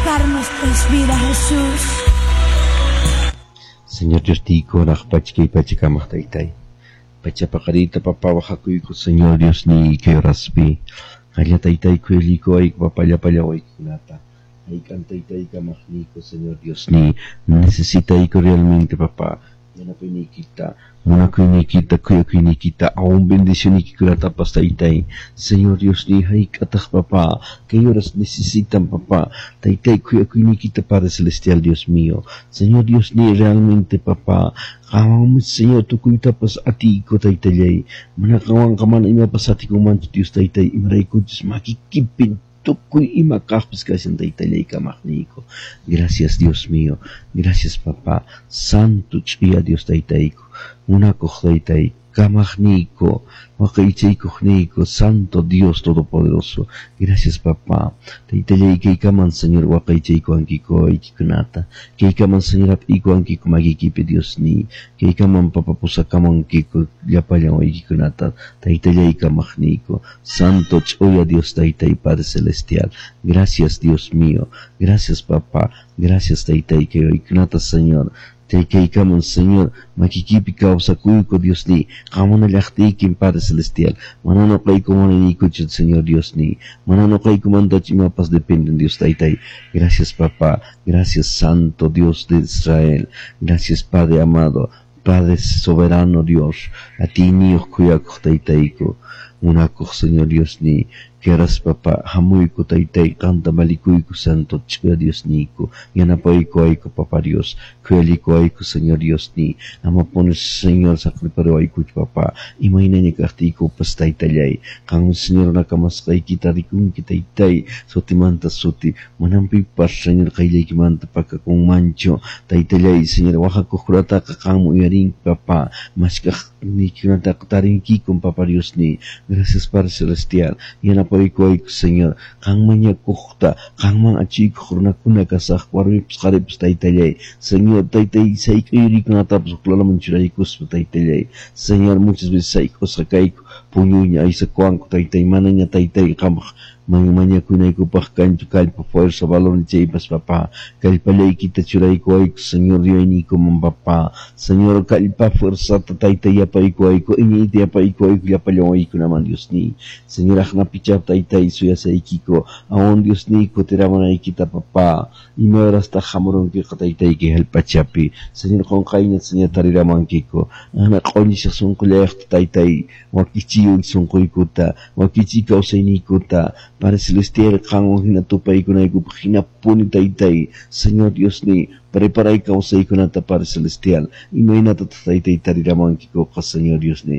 tocar nuestras vidas, Jesús. Señor Dios tiyku hanaq pacha kay pachakamaq taytay. Pacha paqariyta papá waqhakuyku Señor Dios niyki horaspi. Qalla taytay khuyallikuyku papá llapallan waykikunata. Hayk'an taytay kamaqniyku Señor Dios niy. Necesitayku realmente papá. Yanapayniykita, munakuyniykita, khuyakuyniykita, aún bendicioniykikunatapas taytay. Señor Dios niy hayk'ataq papá. Kay horas necesitan papá. Taytay khuyakuyniykita Padre Celestial Dios mío. Señor Dios niy realmente papá. Qanwanmi Señor tukuytapas atiyku taytallay. Mana qanwanqa mana imapas atikunmanchu Dios taytay imaraykuchus makikipin tukuy ima kaqpis kashan taytallay kamaqniyku. Gracias Dios mío. Gracias papá. Santo ch'uya Dios taytayku. Munakuq taytay. Kamaqniyku. Waqaychaykuqniyku. Santo Dios Todopoderoso. Gracias papá. Taytallay kaykaman Señor waqaychaykuwankiku wawaykikunata. Kaykaman Señor hap'iykuwankiku makiykipi Dios niy. Kaykaman papa pusakamunkiku llapallan wawaykikunata. Taytallay kamaqniyku. Santo ch'uya Dios taytay Padre Celestial. Gracias Dios mío. Gracias papá. Gracias taytay kay wawaykikunata Señor. Kaykaman Señor makikipi kawsakuyku Dios niy. Qamuna llaqtaykin Padre Celestial. Mana nuqayku munaniykuchu Señor Dios niy. Mana nuqaykumantachu imapas dependen Dios taytay. Gracias papá. Gracias Santo Dios de Israel. Gracias Padre amado. Padre soberano Dios. Atiyniyuq khuyakuq taytayku. Munakuq Señor Dios niy. Keras papá hamuyku taytay qanta malikuyku Santo ch'uya Dios niyku. Yanapaykuwayku papá Dios. Khuyalikuwayku Señor Dios niy. Amapuni Señor saqriparuwaykuchu papá. Imaynaña kaqtiykupas taytallay. Qanmi Señor nakamasqaykita rikunki taytay. Sutimanta suti. Manam pipas Señor qayllaykimanta pakakunmanchu. Taytallay Señor waqhakuqkunataqa qanmi uyarinki papá. Mashkaqniykikunataqa tarinkikun papá Dios niy. Gracias Padre Celestial. Yanapaykuwayku Señor. Qan mañakuqta, qanman achiykuq runakuna kasaq warmipas qharipas taytallay. Señor taytay sayk'uyrikunatapas huklalaman churaykuspa taytallay. Señor muchas veces sayk'usqa kayku puñuyña aysakuwanku taytay manaña taytay qampaq mañakunaykupaq kanchu kallpa fuerza valor chaypas papá. Kallpallaykita churaykuwayku Señor yuyayniykuman papá. Señor kallpa fuerzata taytay yapaykuwayku iñiyta yapaykuwayku llapallan wawaykunaman Dios niy. Señor aqnapicha taytay suyasaykiku aún Dios niy kutiramunaykita papá. Ima horastaq hamurunkiqa taytayki hallp'achapi. Señor qunqayña Señor tariramankiku. Ana q'uñishaq sunqullayuqta taytay wakichiy sunquykuta wakichiy kawsayniykuta. Padre Celestial qanwan hina tupaykunaykupaq hinapuni taytay. Señor Dios niy preparay kawsaykunata Padre Celestial. Imaynatataq taytay tariramuwankikuqa Señor Dios niy.